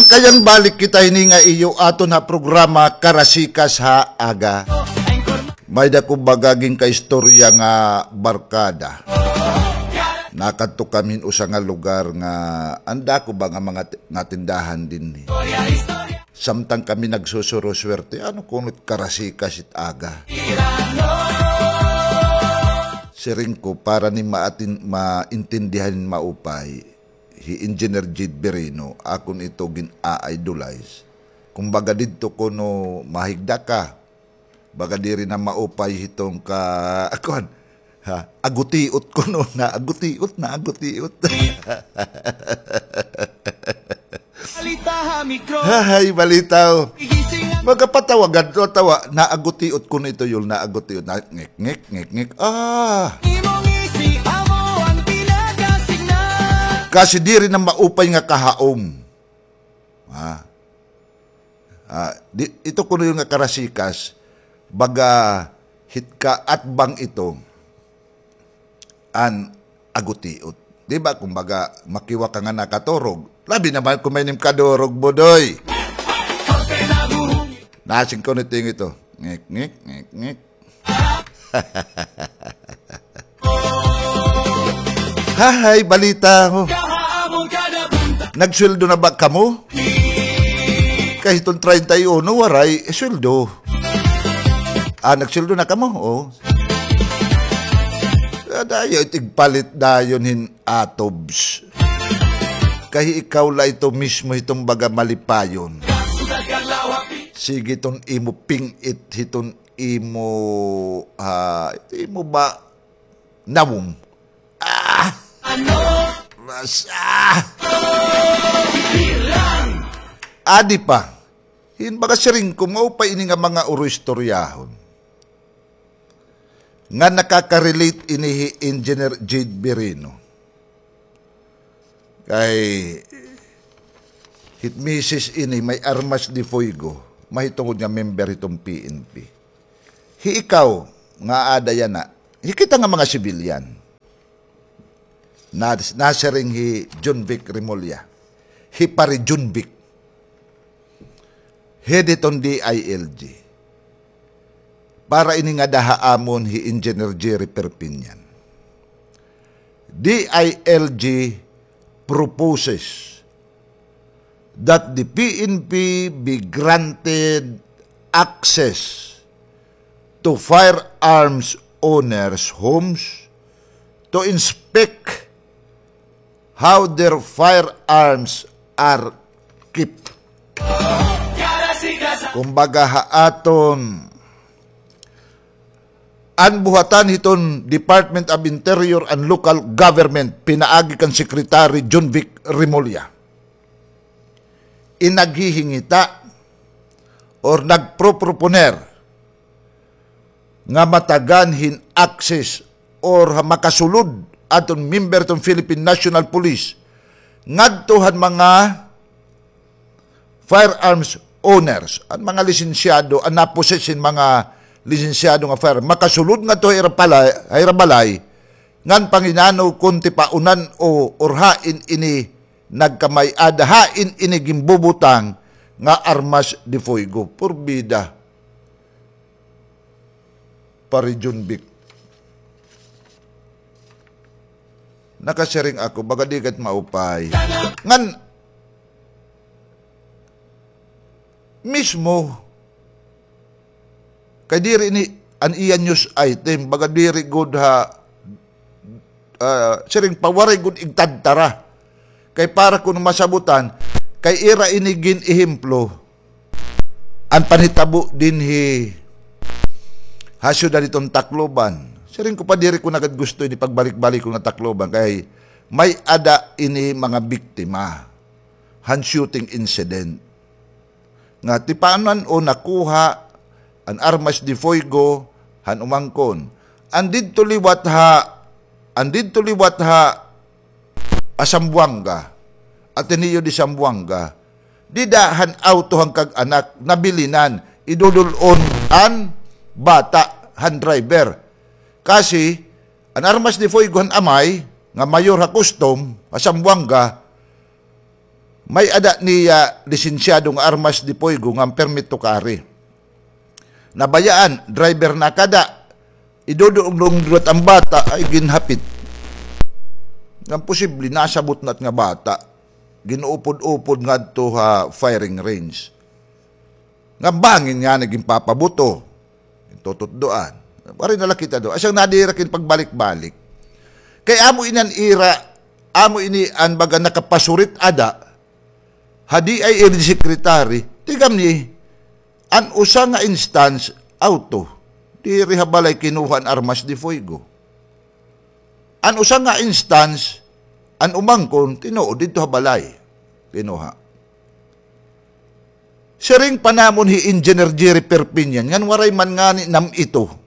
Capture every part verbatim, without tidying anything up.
Kayan balik kita hini nga iyo aton ha programa Karasikas ha Aga. May dako baga ginkaistorya nga barkada. Nakadto kami hin usa nga lugar nga an dako ba nga mga ti-, nga tindahan dinhi. Samtang kami nagsusuro-swerte, ano kuno it karasikas it aga. Siring ko, para ni maatin-, maintindihan hin maupay, hi Engineer Jade Birino, akon ito gin-a-idolize. Kumbaga didto kuno mahigda ka, baga diri na maupay hiton ka, kuan, ha, agutiot kuno, naagutiot, naagutiot. Balita ha mikro. Hahay, balita, o. Igising an Magapatawa, gadto tawa, naagutiot kuno ito, Yul, naagutiot. Na, ngik, ngik, ngik, ngik. Ah. Imong isi, amo an pinagasignal. Kasi diri na maupay nga kahaom. Ah. Ah, di, ito kuno, Yul, nga karasikas, baga hit kaatbang ito an agutiot. Di ba, kumbaga, makiwa ka nga nakaturog. Labi naman kung may nim kadurog, Budoy. Nasing ko nito yung ito. Ngik, ngik, ngik, ngik. Hahay, balita ko. Nagsweldo na ba kamo? Kay hiton treinta y uno, waray, eh, sweldo. Ah, nagsweldo na kamo? O. Ah, dayon, tigpalit dayon hin atobs. Kay ikaw la ito mismo hiton baga malipayon. Sige, hiton imo ping-it, hiton imo, ah, imo ba nawong. Ah! Mas, ah! Adi pa. Hin baga siring ko, maupay ini nga mga uro-istoryahon. Nga nakaka-relate ini hi Engineer Jade Birino. Kay hit misis ini may armas de fuego, mahitungod nga member hiton P N P. Hi ikaw nga aada yana, hi kita nga mga sibilyan. Na, nasiring hi Jonvic Remulla, hi Pare Jonvic. Head hiton D I L G. Para ini nga daha amon hi Engineer Jerry Perpignan. D I L G proposes that the P N P be granted access to firearms owners' homes to inspect how their firearms are kept. Kumbaga ha aton, an buhatan hiton Department of Interior and Local Government, pinaagi kan Secretary Jonvic Remulla, in naghihingita or nagproproponer nga matagan hin access or ha makasulod aton member hiton Philippine National Police ngadto han mga firearms owners, an mga lisensyado, an napossess hin mga lisensyado nga firearm, makasulod ngadto ha ira pala-, ha ira balay, ngan panginano kon tipaunan o, or hain ini nagkamay-ada, hain ini ginbubutang nga armas de fuego. Purbida. Pare Jonvic. Nakasiring ako, baga di ka it maupay. Ngan, mismo, kay diri ini an iya news item, baga diri gud ha, ah, siring pa, waray gud igtadtara. Kay para kuno masabutan, kay ira ini gin-ehemplo, an panhitabo dinhi ha syudad hiton Tacloban. Siring ko pa, diri ko na gad gusto ini pagbalik-balik ko nga Tacloban, kay may-ada ini mga biktima han shooting incident. Nga tipanan o nakuha an armas de fuego han umangkon. An didto liwat ha, an didto liwat ha, ha Zamboanga, Ateneo de Zamboanga, dida han awto han kag-anak, nabilinan, idudul-on an bata han driver. Kasi, an armas de fuego han amay, nga mayor ha custom, ha Zamboanga, May-ada niya lisensyado nga armas de fuego nga permit to carry. Nabayaan, driver na kada. Idudulong duwat an bata, ay ginhapit. Ngan posible, nasabot na it nga bata. Ginuupod-upod ngadto ha firing range. Ngan bangin ngani ginpapabuto. Tututdoan. Waray na la kita do. Asya nga nadiri kini pagbalik-balik. Kay amo ini an ira, amo ini an baga nakapasurit ada, ha D I L G secretary, tigam ni, an usa nga instance, auto. Diri ha balay kinuha an armas de fuego. An usa nga instance, an umangkon, tinuod didto ha balay. Kinuha. Siring pa namon hi Engineer Jerry Perpignan, ngan waray man ngani nam-ito.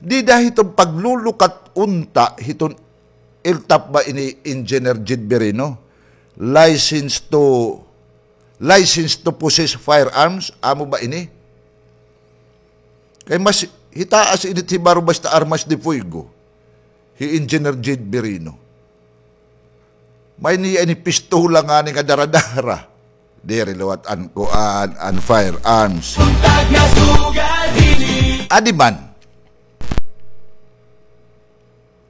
Dida hiton paglulukat unta hiton L T A F ba ini, Engineer Jed Birino? License to, license to possess firearms, amo ba ini? Kay mas hitaas ini it hibaro basta armas de fuego. Hi Engineer Jed Birino. May niya ini pistola ngani nga dara-dara. Diri liwat an kuan, an firearms. Adi man.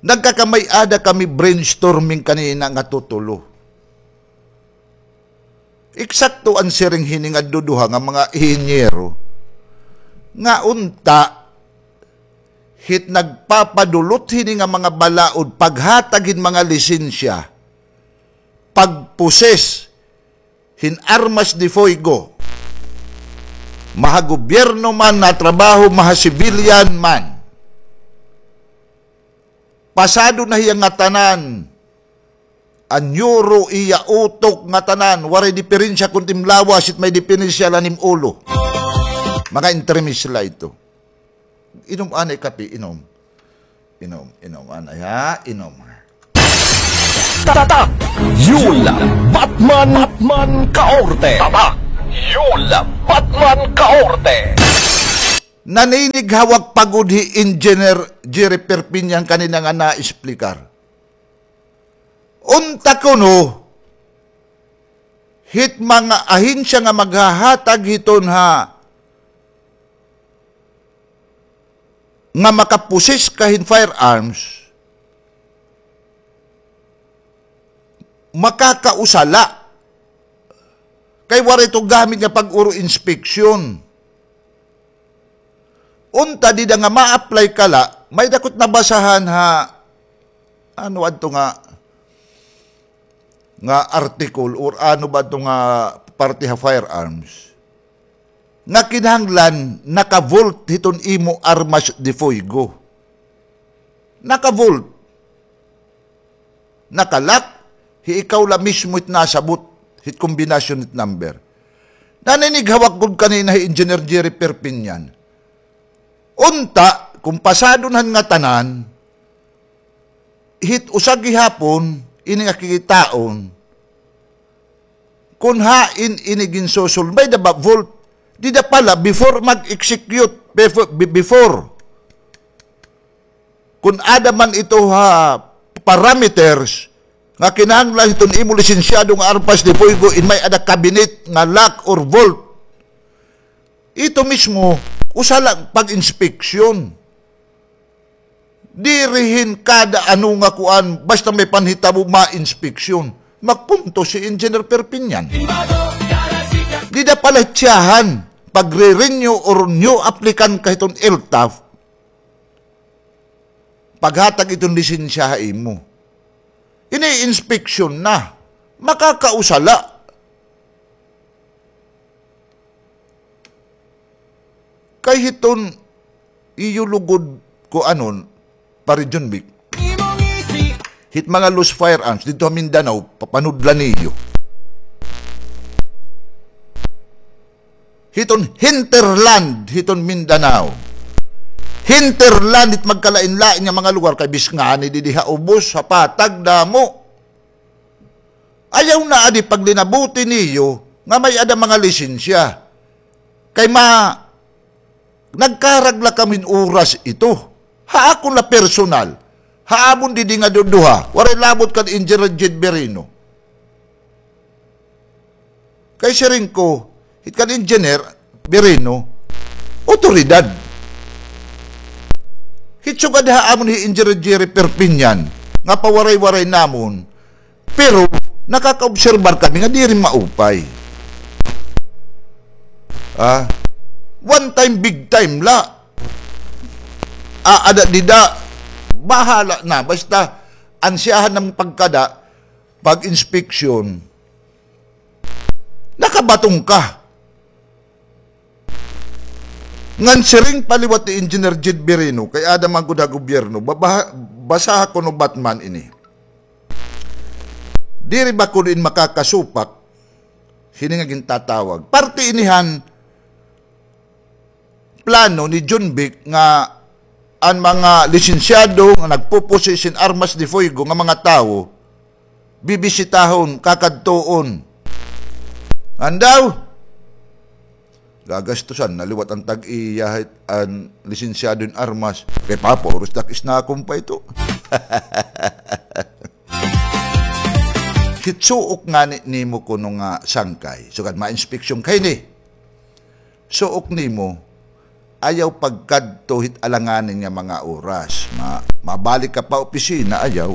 Nagkakamay-ada kami brainstorming kanina nga tutulo. Eksakto an siring hini nga duduha nga mga inhinyero nga unta hit nagpapadulot hini nga mga balaod paghatag hin mga lisensya, pagposes hin armas de fuego, maha gobyerno man, natrabaho, maha civilian man. Pasado na hiya ngatanan. An yuro iya utok ngatanan, waray diperensya kon it im lawas, it may diperensya la an im ulo. Mga entremisla ito. Inom anay kape, inom. Inom, inom anay ha, inom. Tatak! Yula Batman, Batman Kaorte. Tatak! Yula Batman Kaorte. Naninighawak pa gud hi Engineer Jerry Perpignan kanina nga na-explicar. Unta kuno, hit mga ahensya nga maghahatag hiton ha, nga makapossess ka hin firearms, makakausa la. Kay waray ito gamit nga pag-uro inspeksyon. Unta dida nga ma-apply ka la, may-ada ko it nabasahan ha, ano adto nga, nga article or ano ba adto nga parte ha firearms, nga kinahanglan naka-vault hiton imo armas de fuego. Naka-vault. Naka-lock, hi ikaw la mismo it nasabot hit kombinasyon hit number. Naninighawak gud kanina hi Engineer Jerry Perpignan. Unta, kon pasado na han ngatanan, hit usa gihapon, ini nga kikitaon, kon hain ini ginsosolve, may-ada ba vault? Dida pala, before mag-execute, before, be-, before. Kon ada man ito ha parameters nga kinahanglan hiton imo lisensyado nga armas de fuego, in may-ada cabinet nga lock or vault. Ito mismo, usa la pag-inspeksyon. Diri hin kada ano nga kuan, basta may panhitabo ma-inspeksyon. Magpunto si Engineer Perpignan. Dida pala tsahan, pagre-renew or new applicant ka hiton L T A F, paghatag iton lisensya ha imo. Ini inspeksyon na. Makakausa la. Kay hiton iyo lugod kuanon, Pare John Vic. Hit mga loose firearms didto ha Mindanao, papanudlan niyo. Hiton hinterland, hiton Mindanao. Hinterland, it magkalain-lain nga mga lugar, kay bis ngani didi ha ubos, ha patag, damo. Ayaw na adi paglinabuti niyo nga may-ada mga lisensya. Kay ma-, nagkarag la kami hin oras ito. Ha akon la personal, Ha amon didi nga duduha, waray labot kan Engineer Jed Birino. Kay siring ko, hit kan Engineer Birino, otoridad. Hit sugad ha amon hi Engineer Jerry Perpignan, nga pawaray-waray namon, pero nakakaobserbar kami nga diri maupay. Ah, one time, big time la. Ah, ada dida, bahala na. Basta, an siyahan nga pagkada, pag-inspeksyon, nakabaton ka. Ngan siring pa liwat ni Engineer Jed Birino, kay ada man gud ha gobyerno, baba-, basaha kuno Batman ini. Diri ba kuno in makakasupak, hini nga gintatawag. Parte ini han plano ni John Vic nga an mga lisensyado nga nagpo-possess hin armas de fuego nga mga tawo, bibisitahon, kakadtuon. Ngan daw, gagastusan na liwat an tag-iya hit an lisensyado hin armas. Kay papauros takis na akon pa ito. Hit suok ngani nimo kuno nga sangkay, sugad ma-inspeksyon ka hini. Suok nimo, ayaw pagkadto hit alanganin nga mga oras. Ma-, mabalik ka pa opisina, ayaw.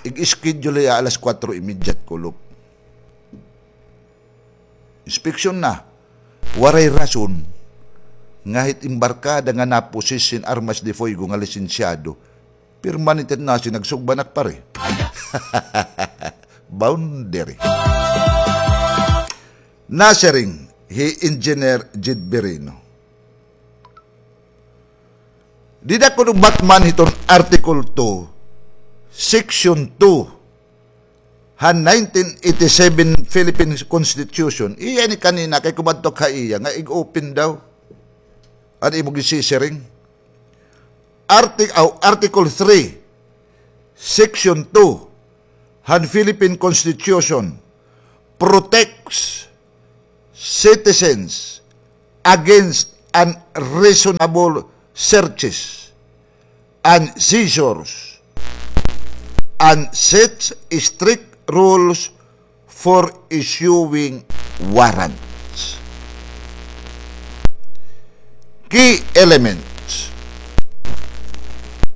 Ig-schedule hiya alas kuwatro y media kulop. Inspeksyon na. Waray rason nga hit embarkada nga napossess hin armas de fuego nga lisensyado, permanente na siya nagsugba nak pare. Boundary. Nasiring hi Engineer Jed Birino. Dida kuno Batman hiton Article two, Section two, han nineteen eighty-seven Philippine Constitution. Iya ini kanina kay kumadto ka iya nga ig-open daw. An imo gisisiring. Artic-, aw, Article three, Section two, han Philippine Constitution protects citizens against unreasonable searches and seizures and sets strict rules for issuing warrants. Key elements.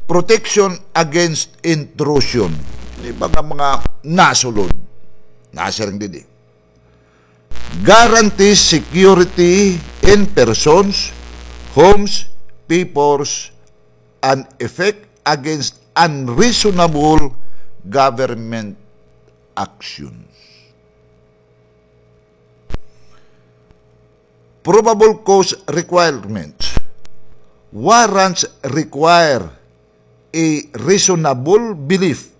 Protection against intrusion. Di ba nga mga nasulod? Nasiring didi. Guarantees security in persons, homes, papers, and effect against unreasonable government actions. Probable cause requirements. Warrants require a reasonable belief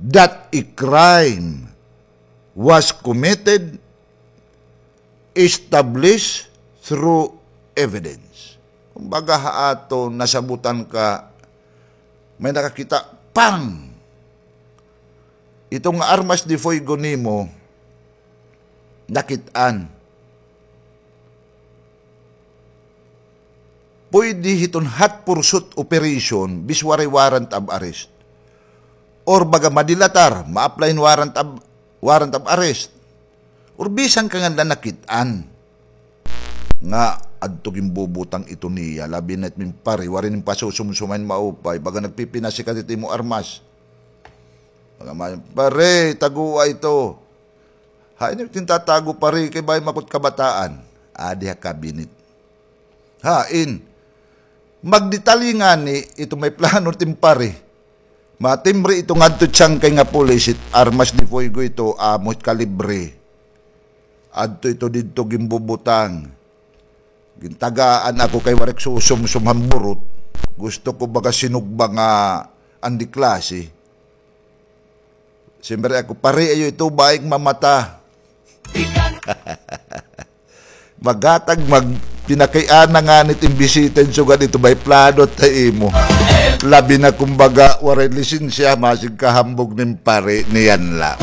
that a crime was committed established through evidence. Kumbaga, ha aton nasabutan ka, may nakakita, pang! Ito nga armas de fuego nimo, nakit-an. Pwede hiton hot pursuit operation, bis waray warrant of arrest. Or baga madilatar, ma-apply hin warrant of, warrant of arrest. Or bisan ka nga nakit-an nga adto ginbubutang ito niya, labi na it min pare, waray nin pasusumsuman maupay, baga nagpipinasikat it imo armas. Baga man, pare, tagoa ito. Hain it tintatago, pare, kay bangin makut kabataan. Adi ha cabinet. Hain. Magdetalye ngani ito may plano it im pare. Matimbre ito ngadto it sangkay nga pulis, it armas de fuego ito, amo it kalibre. Adto ito didto ginbubutang. Gintagaan ako kay waray ak susumsum han burot. Gusto ko baga sinugba nga an de klase. Siyempre ako, pare, ayaw ito, bangin mamata. Maghatag, magpinakiana ngani it im bisita hin sugad ito, may plano it ha imo. Labi na kumbaga waray lisensya, masig kahambog nin pare, niyan la.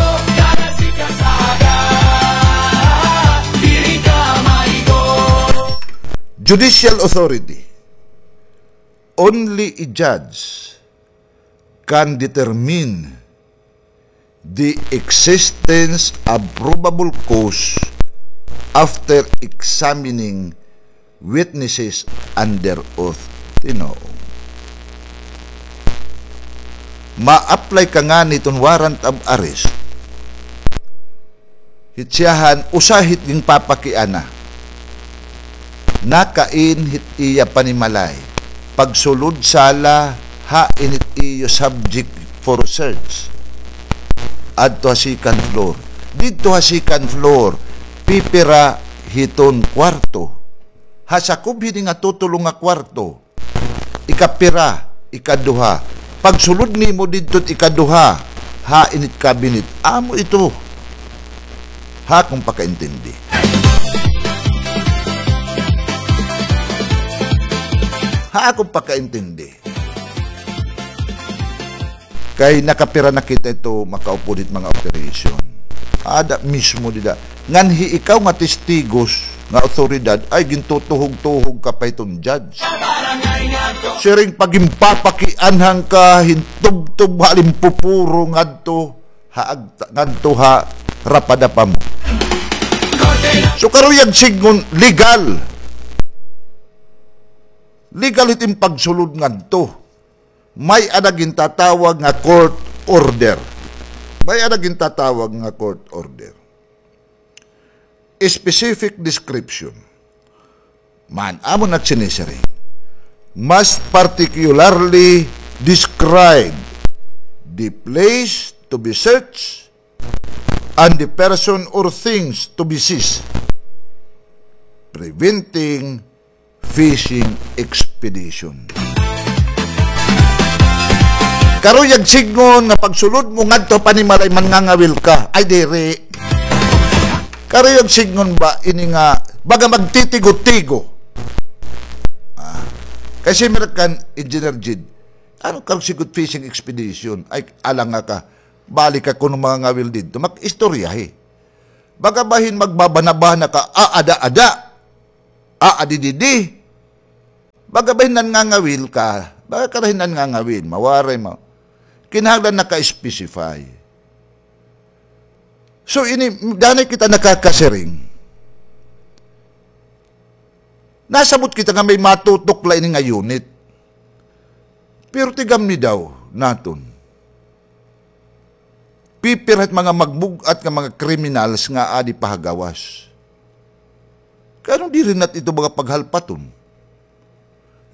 Judicial authority. Only a judge can determine the existence of probable cause after examining witnesses under oath. Tinuod. Ma-apply ka ngani hiton warrant of arrest. Hit siyahan, usa hit ginpapakiana. Nakain hit iya panimalay. Pagsulod sala, hain hit iyo subject for search. Adto ha second floor. Didto ha second floor, pipira hiton kwarto. Ha sakob hini nga tutulo nga kwarto. Ikapira, ikaduha. Pagsulod nimo didto it ikaduha, hain it cabinet. Amo ito. Ha akon pakaintindi. Ha akon pakaintindi. Kay nakapira na kita ito makaupod hit mga operation. Ada mismo dida. Nganhi ikaw nga testigos nga awtoridad, ay gintutuhog-tuhog ka pa hiton judge. Siring pa ginpapakianhan ka, hintubtob ha limpupuro ngadto ha agta-, ngadto ha rapadapa mo. So karuyag sidngon legal. Legal hit im pagsulod ngadto. May-ada gintatawag nga court order. May-ada gintatawag nga court order. Specific description. Man, amo na it sinisiring. Must particularly describe the place to be searched and the person or things to be seized, preventing fishing expedition. Karuyag sidngon nga pagsulod mo ngadto panimalay mangangawil ka. Ay, diri. Karuyag sidngon ba ini nga baga magtitigo-tigo? Ah, kay si American Engineer Jid, ano karuyag sidngon fishing expedition? Ay, alanga ka. Balik ka kuno mangangawil didto. Mag-istoryahi. Baga bahin magbabanabana ka, aada-ada. Aadi didi. Baga bahin nangangawil ka. Baga ka bahin nangangawil. Mawaray mo. Kinahanglan naka-specify. So, ini, danay kita nakakasiring. Nasabot kita nga may matutok la ini nga unit. Pero tigam ni daw naton. Pipira hit mga magbug-at nga mga criminals nga adi pa ha gawas. Kay ano diri nat ito mga paghalpaton?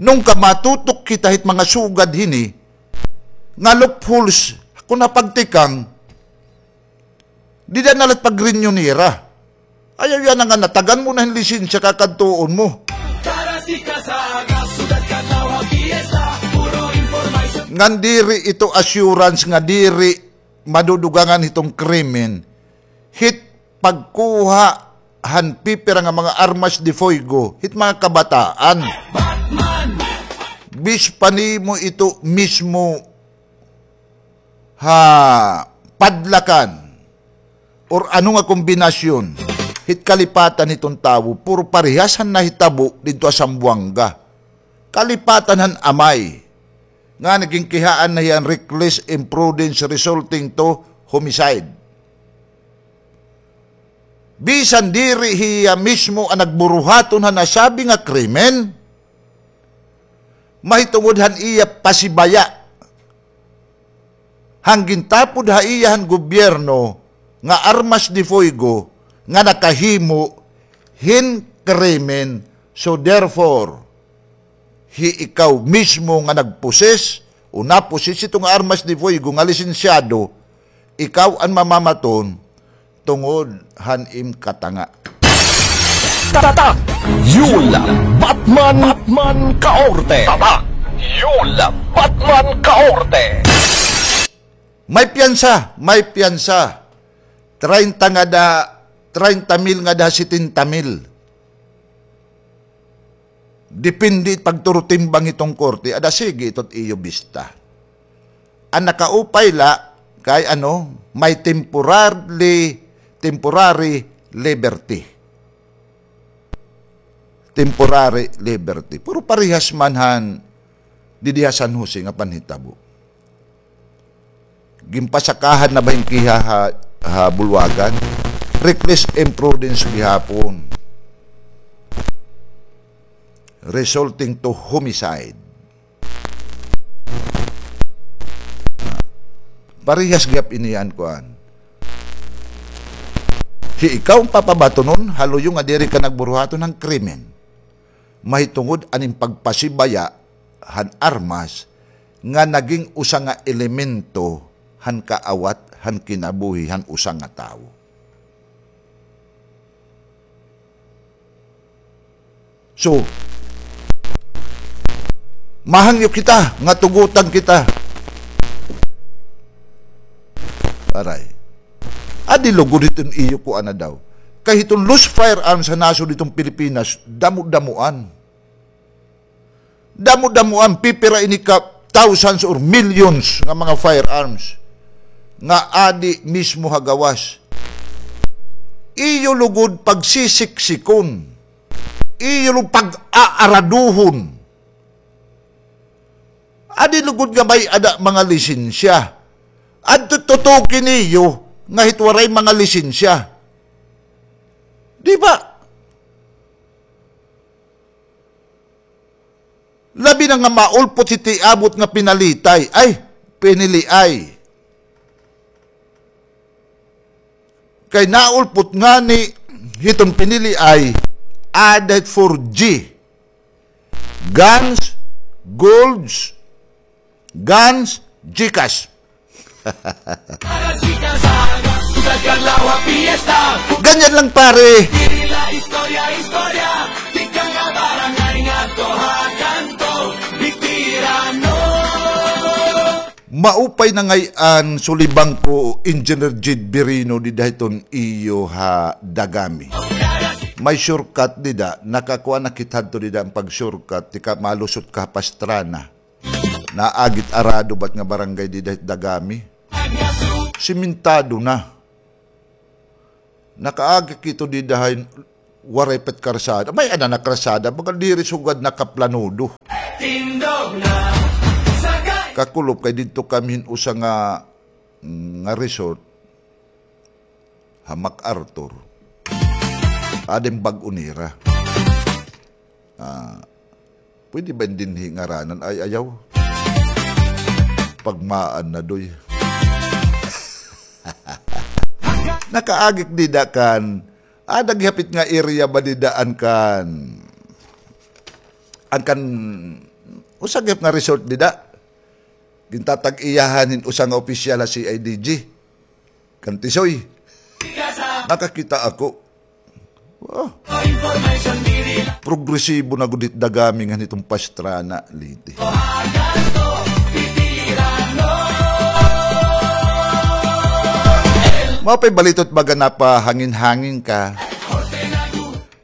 Nungka matutok kita hit mga sugad hini, nga loopholes, kun napagtikang, dida na la it pag-renew nira. Ayaw yana nga natagan mo na hin lisensya kakadtuon mo. Ngan diri ito assurance nga diri madudugangan hiton krimen, hit pagkuha han pipira nga mga armas de fuego, hit mga kabataan. Bis pa nimo ito mismo ha padlakan or ano nga kombinasyon, hit kalipatan hiton tawo, puro parehas han nahitabo didto ha Zamboanga. Kalipatan han amay, nga naging kihaan na hiya hin reckless imprudence resulting to homicide. Bisan diri hiya mismo an nagburuhaton han nasabi nga krimen, mahitungod han iya pasibaya han gintapod ha iya han gobyerno nga armas de fuego nga nakahimo hin krimen. So therefore, hi ikaw mismo nga nagposes o naposes hito nga armas de fuego nga lisensyado, ikaw an mamamaton tungod han im katanga. Tatak Yul Batman, Batman Kaorte. Tatak Yul Batman Kaorte. May piyansa, may piyansa. Treinta ngada, treinta mil ngada setenta mil. Depende it pagturutimbang hiton korte, ada sige ito it iyo bista. An nakaupay la kay ano, may temporarily, temporary liberty. Temporary liberty. Pero parehas man han didi ha San Jose nga panhitabo. Ginpasakahan na ba hin kiha ha, ha bulwagan? Reckless imprudence gihapon, resulting to homicide. Parehas gihap ini an kuan. Hi ikaw an papabatonon, haluyo nga diri ka nagburuhaton han krimen. Mahitungod an im pagpasibaya han armas nga naging usa nga elemento han kaawat han kinabuhi han usa nga tawo. So, mahangyo kita nga tugotan kita. Aray. Adi lugod hiton iyo kuan na daw. Kay hiton loose firearms ha nasod hiton Pilipinas, damo-damoan. Damo-damoan, pipira ini ka thousands or millions nga mga firearms nga adi mismo ha gawas. Iyo lugod pagsisiksikon. Iyo lugod pag-aaraduhon. Adi lugod nga may-ada mga lisensya. Adto tutuki niyo nga hit waray mga lisensya. Di ba? Labi na nga maulpot hit iabot nga pinalitay. Ay, piniliay. Kay naulpot ngani hiton piniliay, ada hit four G. Guns, golds, guns, GCash. Ganyan lang, pare. Maupay na ngay-an, sulibang ko, Engineer Jid Birino, dida hiton iyo ha Dagami. May shortcut dida, nakakuha na kita hadto dida an pag-shortcut, tika malusot ka ha Pastrana. Naagit arado bat nga barangay dida hit Dagami. Simentado na. Nakaagi kito dida hay waray pa it karsada. May-ada na karsada, baga diri sugad nakaplanudo. Kakulop kay didto kami hin usa nga, nga resort ha MacArthur. Ada hin bag-o nira. Ah, pwede ba dinhi ngaranan? Ay, ayaw. Pagmaan na, doy. Nakaagi ak dida kan, ada gihap it nga area ba dida an kan, an kan, usa gihap nga resort dida. Gintatag-iyahan hin usa nga opisyal ha C I D G. Kan Tisoy. Nakakita ako. Ah. Progresibo na gud hit Dagami ngan hiton Pastrana, Leyte. Maupay balitot baga napahangin-hangin ka.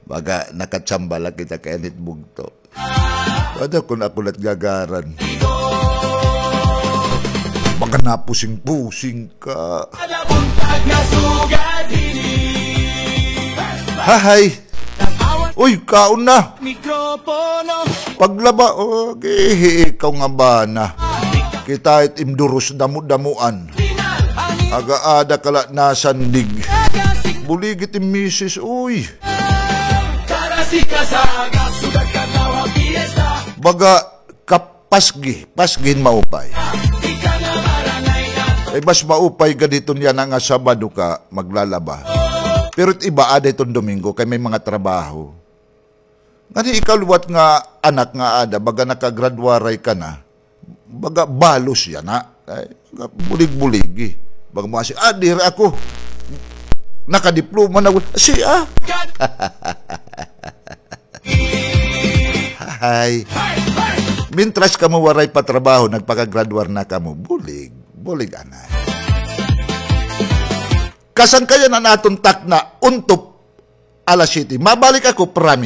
Baga nakatsamba la kita kay anit bugto. Ada kon ako lat gagaran. Baga napusing-pusing ka. Hahay. Uy, kaon na. Paglaba, oh, gihi ikaw nga bana. Kita it im duros damo-damoan. Aga-ada ka la nasandig. Buligi it im misis, uy. Baga kapasgi, pasgi hin maupay. Ay, mas maupay gad hiton yana nga Sabado ka maglalaba. Pero it iba, ada hiton Domingo, kay may mga trabaho. Ngani ikaw liwat nga anak nga ada, baga nakagradwaray ka na, baga balos yana. Ay, bulig-buligi. Baga mo asi, ah, diri ako. Nakadiploma na gud. Siya. Hay. Mintras kamo waray pa trabaho, nagpakagradwar na kamo. Bulig. Bulig, anay. Kasangkayan an aton takna, untop alas siyete. Mabalik ako, promise.